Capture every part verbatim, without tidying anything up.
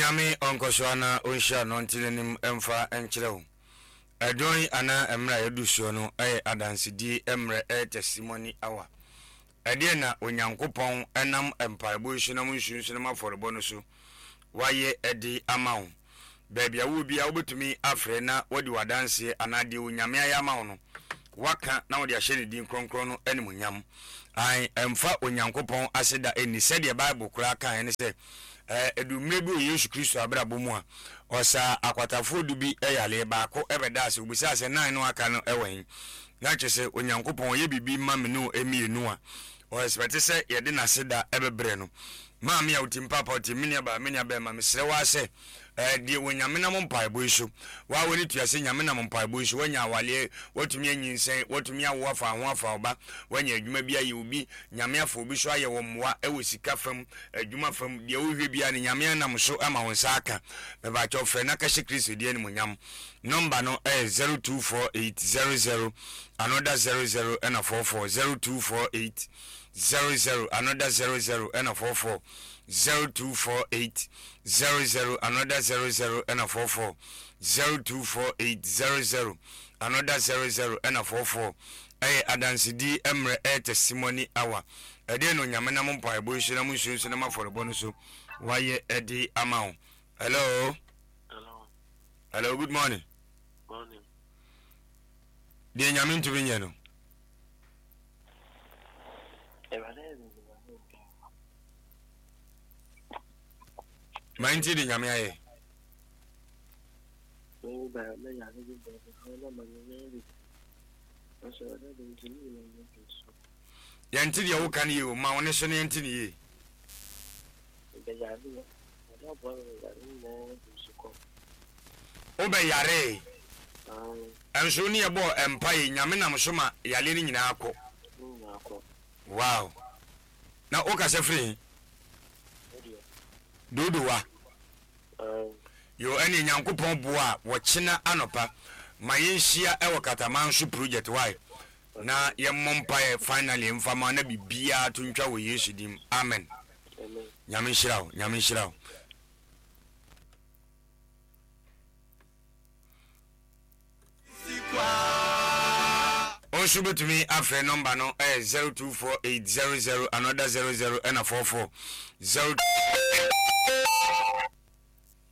Onyame ɔnkɔ so ana ɔnhyira no ɔnte n'anim mfa nkyerɛ wo. Ɛdɔn yi anaa mmerɛ a yɛadu soɔ no yɛ adansedie mmerɛ, ɛyɛ testimony hour. Ɛdeɛn na Onyankopɔn nam mpaebɔ yi so nam nsuo nso nam afɔrebɔ no so wayɛ de ama wo? Baabi a wowɔ biara wobɛtumi afrɛ na woadi w'adanseɛ anaa deɛ Onyame ayɛ ama wo no woaka na wode ahyɛ ne din kronkron no animuonyam. Ae, ɛmfa Onyankopɔn aseda nni. Sɛdeɛ Bible koraa kaeɛ ne sɛ, ɛduu mmerɛ bi wɔ Yesu Kristo abrabɔ mu a, ɔsaa akwatafoɔ du bi yareɛ, baako bɛdaa ase, ɔbisaa sɛ, Nine no a aka no wɔ he? Na kyerɛ sɛ Onyankopɔn ɔyɛ biribi ma me ne wo mmienu a, ɔ expect sɛ yɛde n'aseda bɛbrɛ no. Maame a wotim, paapa a wotim, me nuabaa, me nuabɛɛma, mesrɛ wo ara sɛ, eh, deɛ Onyame nam mpaebɔ yi so, wo ara w'ani tua sɛ Nyame nam mpaebɔ yi so, woanya awaleɛ, woatumi anyinsɛn, woatumi awo afa ho afa wo ba, woanya adwuma bi ayɛ, obi, Nyame afa obi so ayɛ wo mmoa wɔ sika fam, adwuma fam, deɛ wohwɛ biara no Nyame anam so ama wo nsa aka. Mepakyɛw frɛ na ka hyɛ Kristo din animuonyam. Nɔmba no yɛ zero two four eight zero zero another zero zero ɛna four four, zero two four eight zero zero another zero zero ɛna four four, zero two four eight zero zero another zero zero ɛna four four, zero two four eight zero zero another zero zero ɛna four four. Ɛyɛ adansedie mmerɛ, ɛyɛ testimony hour. Ɛdeɛn na Onyame nam mpaebɔ yi so nam nsuo nso nam afɔrebɔ no so wayɛ de ama wo? Hello. Hello. Hello, good morning. Morning. Deɛ Nyame ntumi nyɛ no. Ma nti de Nyame ayɛ. Yɛnte deɛ woka no yie o, ma wo ne so na yɛnte no yie. Wobɛyaree. Ɛnso wo ne yɛbɔɔ mpaeɛ, Nyame nam so ma yareɛ no nyinaa kɔ. Wow. Na wokasa firi he? Dodowa. Yoo ɛneɛ Nyankopɔn boa a wɔkyena anɔpa ma yɛnhyia ɛwɔ Katamanso project wai na yɛmmɔ mpaeɛ finally mfa ma na biribiara to ntwa wɔ Yesu din mu amen Nyame nhyira wo Nyame nhyira wo. Wo nso bɛtumi afrɛ nɔmba no ɛyɛ zero two four eight zero zero another zero zero ɛna four four zero.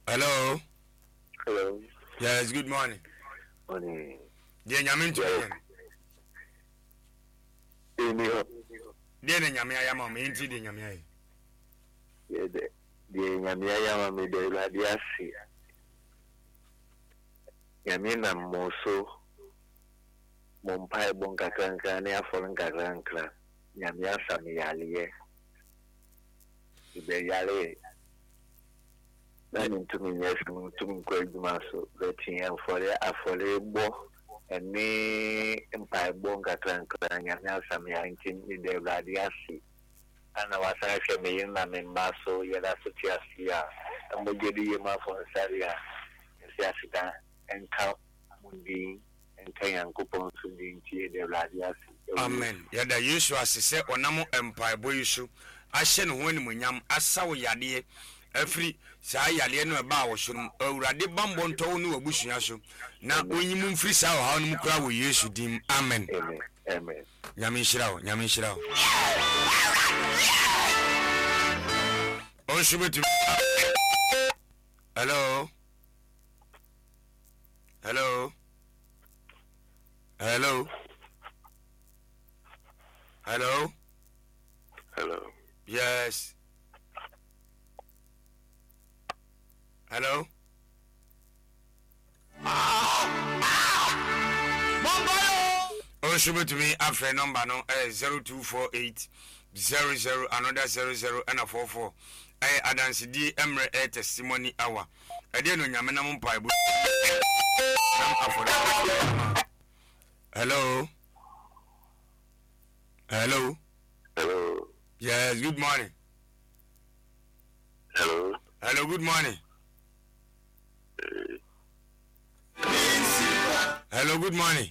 Hello. Hello. Yes, good morning. Morning. Deɛ Nyame ntumi yɛ no. Ɛni hɔ. Deɛ na Nyame ayɛ ama wo, meyɛ nti deɛ Nyame ayɛ. Deɛ deɛ Nyame ayɛ ama me deɛ Awurade ase. Nyame nam mo so, mo mpaebɔ nkakrankra ne afɔre nkakrankra, Nyame asa me yareɛ. Mebɛyaree na mentumi nyɛ hwee, mentumi nkɔ adwuma so, but mfɔre afɔrebɔ ne mpaebɔ nkakrankra Nyame asa me yare nti meda Awurade ase. Ana wasan ahwɛ me yere na me mma so, yɛda so te ase a, mogya di yɛn mu afɔnsare a, yɛse aseda nka mo din, nka Nyankopɔn nso din nti yɛda Awurade ase wɔ Amen. Yɛda Yesu ase sɛ ɔnam mpaebɔ yi so ahyɛ ne ho animuonyam, asa wo yadeɛ afiri saa yadeɛ no a ɛbaa wo so no mu. Awurade bammɔ ntɔ wo ne w'abusua so na Amen. ɔnyi mo mfiri saa ɔhaw no mu koraa wɔ Yesu din mu. Amen. Amen. Amen. Nyame nhyira wo. Nyame nhyira wo. Wo nso bɛtumi. Hello. Hello. Hello. Hello. Hello. Yes. Hello. Nso bɛtumi afrɛ nɔmba no ɛyɛ zero two four eight zero zero another zero zero ɛna four four ɛyɛ adansedie mmerɛ ɛyɛ testimony hour ɛdeɛ no Onyame nam mpaebɔ nam afɔre. Hello. Hello. Hello. Yes, good morning. Hello. Hello, good morning. Hello, good morning.